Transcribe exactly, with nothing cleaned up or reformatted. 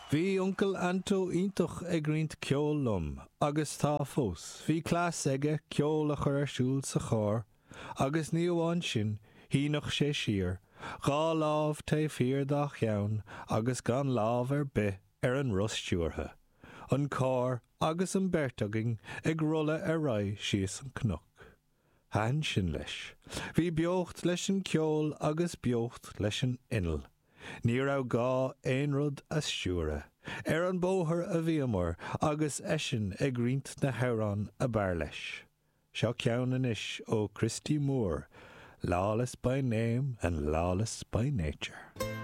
Bhí uncail Anto iontach ag roinnt ceoil liom, agus tá fós, bhí cleas aige ceol a chur ar siúl sa charr, agus ní amháin sin, shíneodh sé siar, dhá lámh taobh thiar dá cheann agus gan lámh ar bith ar an roth stiúrtha, an carr agus an bheirt againn ag rolladh ar aghaidh síos an cnoc. Thaitin sin leis. Bhí beocht leis an ceol agus beocht leis an inneall. Ní raibh gá aon rud a stiúradh. Ar an bóthar a bhíomar agus eisean ag roinnt na hamhrán ab fhearr leis. Seo ceann anois ó Christy Moore, Lawless by name and lawless by nature.